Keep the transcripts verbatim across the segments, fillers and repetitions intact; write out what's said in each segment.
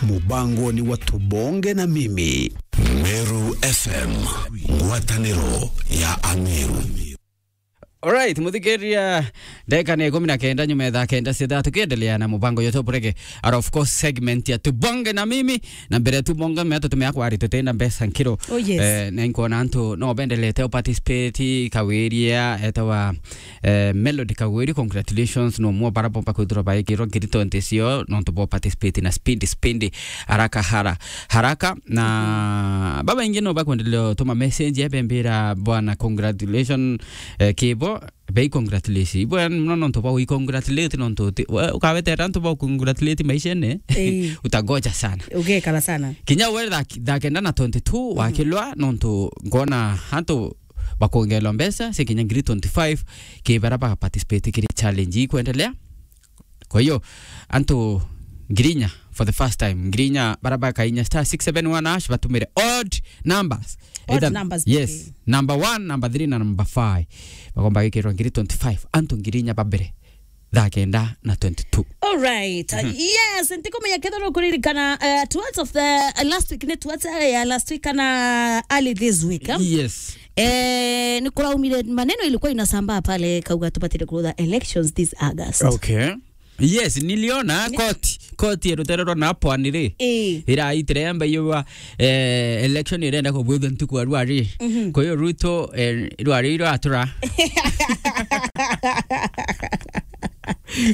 Mubango ni wa Tubonge na Mimi. Meru F M, ngwataniro ya Ameru. Alright, muthikiria, ndagika ni ikumi na kenda nyuma ya thaa kenda cia thaa, tukiendelea na mubango yetu burege. And of course, segment ya Tubonge na Mimi, na mbere Tubonge, mea tutumia kwari tutina mbeca nkiro. Oh, yes. Eh, na inkwona antu no bendelete o participate, Kawiria, etawa, eh, Melody Kagwiri, congratulations, no mwa bara bomba kwithirwa baikirwa ngiri twenty cio, nontu bo participate na spindi, spindi, haraka, hara-, haraka. Na babaingi no bakwendelea utuma message, ebembira bwana, congratulations, eh, kibo, bei congratulate. Ibwe no nontu bwa wi congratulate nontu uti-, we, ukawetera antu ba congratulate maishene, eh, utagoja sana. Ugekara sana. Kinya we thaa, thaa kenda na twenty-two, mhm, wakilwa nontu ngona antu bakongelwa mbeca, cia kinya ngiri twenty-five, ki bara ba participate kiri challenge ii kwendelea. Kwa hiyo, antu ngiri inya for the first time, ngiri inya bara bakainya star six seven one hash, batumire odd numbers. Odd numbers, yes, pekee. Number one, number three na number five. Bagomba gwikirwa ngiri twenty-five, antu ngiri inya ba mbere. Thaa kenda na twenty-two. All right. Mhm. Yes, ntikumenya kethira ukuririkana, uh, towards of the, uh, last week, ni towards, uh, ya last week kana early this week, eh? Yes. Eh, ni kuraumire maneno ilikuwa inasambaa pale, kauga tubatire kurutha elections this August. Okay. Yes, niliona ni- koti, koti ya rutere rwa Napwani ri, eh, iraitire yamba iyo, eh, election irenda kubwithwa ntuku ya rwari. Mhm. Kwa hiyo Ruto, eh, rwari iratura.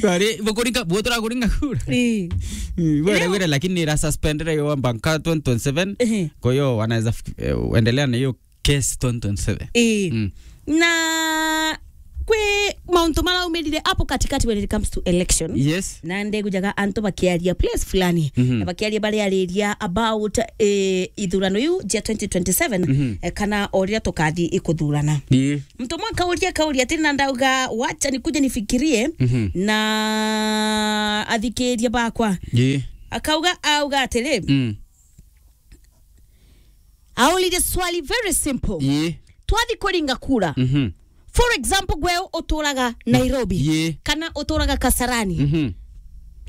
Rwari, bukuringa, butura kuringa kura. Eh. Mm, wera, leo wera, lakini ira suspendere yo mpaka twenty twenty-seven. Ehe. Kwa hiyo wanaweza fik-, eh, endelea na hiyo case twenty twenty-seven. Ii. Mm. Na kwi mauntu maraumirire apo katikati when it comes to election. Yes. Na ndigujaga antu bakiaria place fulani. Mhm. Na bakiaria bariariria about, eh, ithurano iu jia twenty twenty-seven, mhm, eh, kana o riria tukathi ikuthurana. Ii. Mtu mwe kauria, kauria ati, na ndauga, "Wacha nikuje nifikirie, mhm, na athikiria bakwa." Ii. Akauga, auga atiri, mm. Aurire swali very simple. Ii. Twathi kuringa kura. Mhm. For example, gwe uturaga Nairobi. Ii. Kana uturaga Kasarani. Mhm.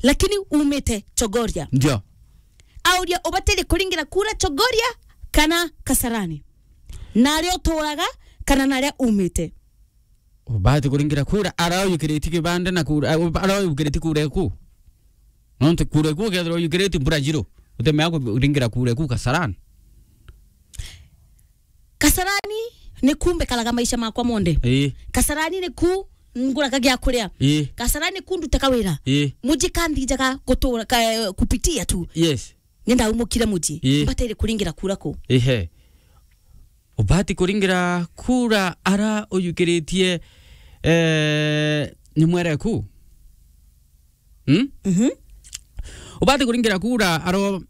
Lakini umite Chogoria. Ndio. Auria, ubatiri kuringira kura Chogoria kana Kasarani? Naria uturaga kana naria umite? Ubati kuringira kura ara uyukiriti kibande na kura, ara uyukiriti kura eku. Nontu kura eku ukethirwa uyukiriti mbura jiro, utemea kuringira kura eku Kasarani. Kasarani ni ku mbikaraga maisha makwa monthe. Ii. Kasarani ni ku nguraga gia kuria. Ii. Kasarani ni ku ndutaga wira. Ii. Muji kanthijaga gutura, ka-, kupitia tu. Yes. Ni ndaumukire muji. Ii. Mbatiri kuringira kura ku? Ihe. Ubati kuringira kura ara uyukiritie, eh, ni mwere ku? Hmm? Mhm. Ubati kuringira kura aro,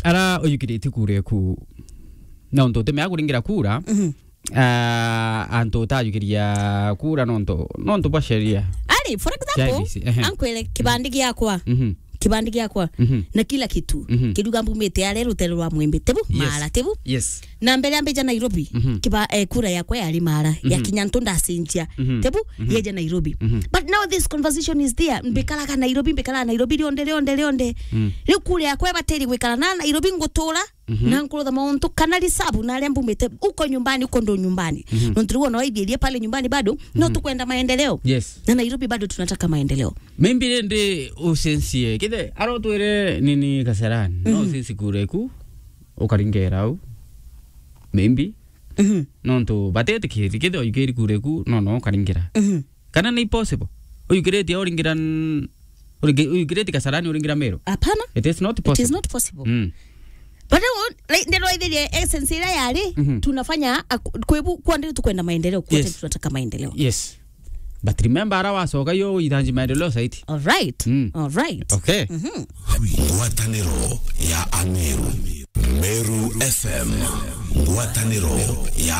ara uyukiritie kura eku. Na untu utemea kuringira kura, mhm, ah, antu utayukiria kura nontu, nontu bwa sheria. Ari, for example, Cia I E B C, ehe, ankwire kibandi giakwa. Mhm. Kibandi giakwa. Mhm. Na kila kitu. Mhm. Kiruga mbumite aria rutere rwa Mwembe. Tebu? Yes. Mara, tebu? Yes. Na mbere ambija Nairobi, mhm, kiba, eh, kura yakwa yari Mara, mhm, ya kinya ntu ndacenjia. Mhm. Tebu? Mhm. Yeja Nairobi. Mhm. But now this conversation is there. Mm. Mbikaraga Nairobi, mbikaraga Nairobi rionde, rionde, rionde. Mm. Riu kura yakwa ibatiri gwikara na Nairobi ngutura, mhm, na nkurutha mauntu kana reserve na aria mbumite uko nyumbani, uko ndo nyumbani. Mhm. Nontu riu ona waithierie pale nyumbani bado, no, mhm, tukwenda maendeleo. Yes. Na Nairobi bado tunataka maendeleo. Maybe rindi ucencie. Kithe, arotwire nini Kasarani. No, mhm, ucenci kura eku, ukaringera au. Maybe. Mhm. Nontu batetikiri, kithe oyukiri kura eku, no, no, ukaringira. Mhm. Kana ni possible? Uyukiriti uringira n-, uringi-, uyukiriti Kasarani uringira Meru? Hapana. It is not possible. It is not possible. Mm. But, uh, like, ndero ithirie essence ira yari, mhm, tunafanya, ak-, kwebu, kwa ndiri tukwenda maendeleo, kwa, yes, ndiri tunataka maendeleo. Yes. But remember, ara wacoka yo ithanji maendeleo zaidi. All right. Mm. All right. Okay. Mhm. Ngwataniro ya Ameru. Meru F M. Ngwataniro ya